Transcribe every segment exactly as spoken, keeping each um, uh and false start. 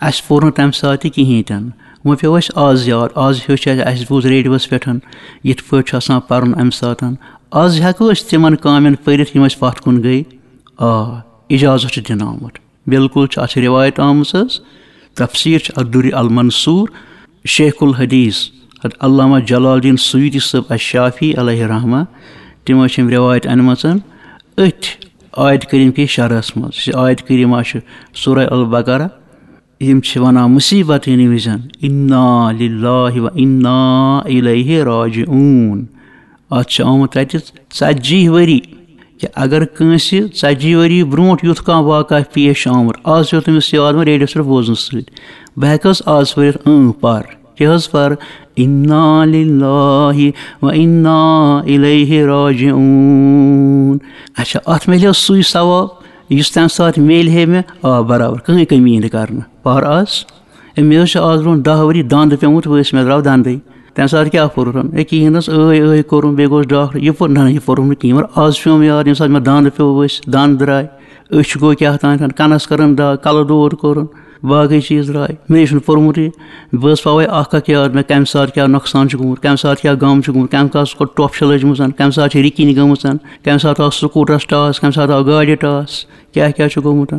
اَسہِ پوٚر نہٕ تَمہِ ساتہٕ تہِ کِہیٖنۍ تہِ نہٕ۔ وۄنۍ پیوٚو اَسہِ آز یاد، آز ہیوٚچھ اَسہِ، اَسہِ بوٗز ریڈیوَس پٮ۪ٹھ یِتھ پٲٹھۍ چھُ آسان پَرُن اَمہِ ساتہٕ۔ آز ہٮ۪کو أسۍ تِمَن کامٮ۪ن پٔرِتھ، یِم اَسہِ پَتھ کُن گٔے۔ آ، اِجازت چھُ دِنہٕ آمُت۔ بالکل چھِ اَتھ رِوایت آمٕژ حظ۔ تفسیٖر چھُ الدُّرِ المنصوٗر، شیخ الحدیث حضرت علامہ جلال الدین سیوطی صٲب الشافعی علیہ رحمہ، تِمو چھِ یِم رِوایت أنمٕژ أتھۍ آیت کریٖم کِس شرحس منٛز۔ یُس یہِ آیت کریٖمہ چھِ سورہ البقرہ، یِم چھِ وَنان مُصیٖبت یِنہٕ وِزٮ۪ن، "اِنَّا لِلَّهِ وَإِنَّا إِلَيْهِ رَاجِعُونَ"۔ اَتھ چھِ آمُت تَتہِ ژَتجی ؤری، کہِ اگر کٲنٛسہِ ژَتجی ؤری برونٛٹھ یُتھ کانٛہہ واقعہ پیش چھُ آمُت، آز چھُ تٔمِس یاد وۄنۍ ریڈیوَس پٮ۪ٹھ بوزنہٕ سۭتۍ، بہٕ ہٮ۪کہٕ حظ آز پٔرِتھ؟ اۭں، پَر۔ کیٛاہ حظ پَر؟ "اِنَّا لِلَّهِ وَإِنَّا إِلَيْهِ رَاجِعُونَ"۔ اچھا، اَتھ میلیو سُے ثواب یُس تَمہِ ساتہٕ میلہِ ہے مےٚ؟ آ، برابر، کٕہٕنۍ کٔمی نہٕ کرنہٕ۔ پَر آز۔ ہے، مےٚ حظ چھُ آز برونٛہہ دَہ ؤری دَنٛد پیوٚمُت ؤسۍ، مےٚ درٛاو دَنٛدٕے۔ تَمہِ ساتہٕ کیٛاہ پوٚرُتھ؟ ہے، کِہیٖنۍ حظ، ٲے ٲے کوٚرُم، بیٚیہِ گوس ڈاکٹر۔ یہِ پوٚر نہ، یہِ پوٚرُم نہٕ کِہیٖنۍ، مگر آز چھُ مےٚ یاد، ییٚمہِ ساتہٕ مےٚ دَنٛد پیوٚو ؤسۍ، دَنٛد درٛاے، أچھ گوٚو کیٛاہ تام، کَنَس کٔرٕم دَگ، کَلہٕ دود کوٚرُم، باقٕے چیٖز درٛاے۔ مےٚ چھُنہٕ پوٚرمُتٕے۔ بہٕ حظ پاوَے اَکھ اَکھ یاد، مےٚ کَمہِ ساتہٕ کیٛاہ نۄقصان چھُ گوٚمُت، کَمہِ ساتہٕ کیٛاہ غم چھُ گوٚمُت، کَمہِ ساتہٕ کوٚت ٹۄپھ چھِ لٔجمٕژ، کَمہِ ساتہٕ چھِ رِکِنۍ گٔمٕژ، کَمہِ ساتہٕ آو سکوٗٹرَس ٹاس، کَمہِ ساتہٕ آو گاڑِ ٹاس، کیٛاہ کیٛاہ چھُ گوٚمُت۔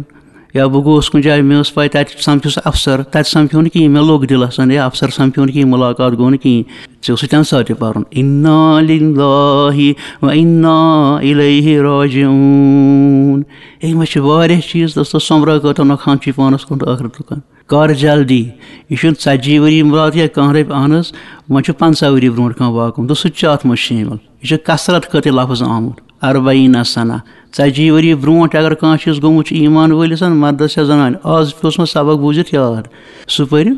یا بہٕ گوس کُنہِ جایہِ، مےٚ ٲس پَے تَتہِ سَمکھیوٚس اَفسَر، تَتہِ سَمکھیوٚو نہٕ کِہیٖنۍ، مےٚ لوٚگ دِلَس، یا اَفسَر سَمکھیوٚو نہٕ کِہیٖنۍ، مُلاقات گوٚو نہٕ کِہیٖنۍ۔ ژےٚ اوسُے تَمہِ ساتہٕ تہِ پَرُن، "اِنَّا لِلَّهِ وَإِنَّا إِلَيْهِ رَاجِعُونَ"۔ ہے، مےٚ چھِ واریاہ چیٖز، دوستو، سۄمبراو کۭژاہ نۄقصان چھُے پانَس کُن تہٕ ٲخرَتُک۔ کر جلدی، یہِ چھُنہٕ ژَتجی ؤری مراد یا کانٛہہ رۄپیہِ، اہن حظ، وۄنۍ چھُ پنٛژاہ ؤری برونٛٹھ کانٛہہ واقعہٕ، دوٚپُس، سُہ تہِ چھُ اَتھ منٛز شٲمِل۔ یہِ چھُ کثرت خٲطرٕ لفظ آمُت، اربعین سنہ، ژَتجی ؤری برونٛٹھ اگر کانٛہہ چیٖز گوٚمُت چھُ ایمان وٲلِس، مردس یا زنانہِ، آز پیوٚس مےٚ سبق بوٗزِتھ یاد، سُہ پٔرِو۔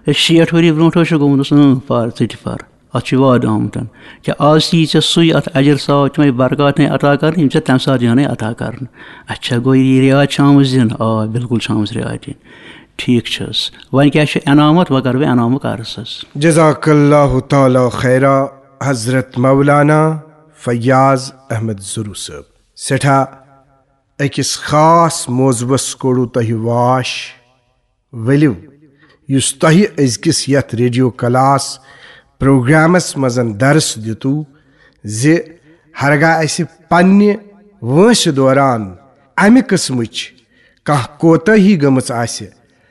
ہے، شیٹھ ؤری برونٛٹھ حظ چھُ گوٚمُت، دوٚپُس، اۭں، پر، ژٕ تہِ پر۔ اَتھ چھُ وعدٕ آمُت، کہِ آز یی ژےٚ سُے، اَتھ اجر ثواب تِمَے برکات نے عطا کَرنہٕ، یِم ژےٚ تَمہِ ساتہٕ یِہَنَے عطا کَرنہٕ۔ اچھا، گوٚو یہِ رعایت چھِ آمٕژ دِنہٕ؟ آ، بِلکُل چھِ آمٕژ رعایت دِنہٕ۔ ٹھیٖک چھِ حظ۔ وۄنۍ کیٛاہ چھُ انعام اَتھ؟ وۄنۍ کَرٕ بہٕ انعامُک عرض حظ۔ جزاک اللہ تعالیٰ خیرا، حضرت مولانا فیاض احمد زرو صٲب۔ سٮ۪ٹھاہ أکِس خاص موضوعس کوٚڑوٕ تۄہہِ واش۔ ؤلِو، یُس تۄہہِ أزکِس یَتھ ریڈیو کلاس پروگرامس منٛز درس دِتوٕ زِ ہرگاہ اَسہِ پننہِ وٲنٛسہِ دوران اَمہِ قٕسمٕچ کانٛہہ کوتٲہی گٔمٕژ آسہِ،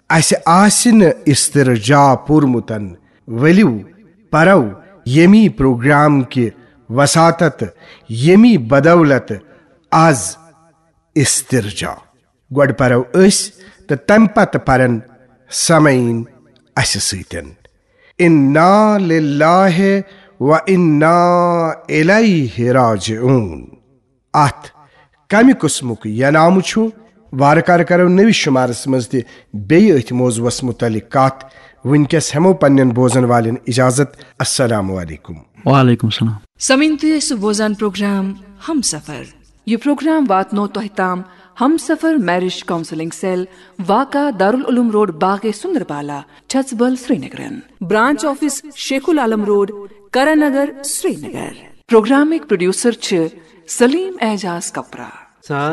اَسہِ آسہِ نہٕ استرجاع پوٚرمُت، ؤلِو پرو ییٚمی پروگرام کہِ وساطت، ییٚمی بدولت از استرجاع۔ گۄڈٕ پرو أسۍ تہٕ تَمہِ پتہٕ پرن سامعیٖن اَسہِ سۭتۍ۔ اِنَّا لِلَّهِ وَإِنَّا إِلَيْهِ رَاجِعُونَ۔ اَتھ کمہِ قٕسمُک یہِ نامہٕ چھُ؟ وارٕ کارٕ کرو نٔوِس شُمارس منٛز تہِ بیٚیہِ أتھۍ موضوعس مُتعلق کتھ۔ وٕنکیٚس ہٮ۪مو پننٮ۪ن بوزن والٮ۪ن اجازت۔ السلام علیکم۔ وعلیکم السلام۔ سامعیٖن، تُہۍ ٲسِو بوزان پروگرام ہمسفر۔ یہِ پروگرام واتنو تۄہہِ تام ہمسفر میرج کاؤنسلنگ سیل، واقع دارالعلوم روڈ، باغے سندربالا، چھژبل، سرینگرن۔ Branch office Sheikh ul-Alam road, Karan Nagar, Srinagar. پروگرامٕکۍ پروڈیوسر چھِ سلیم اعجاز کپرا۔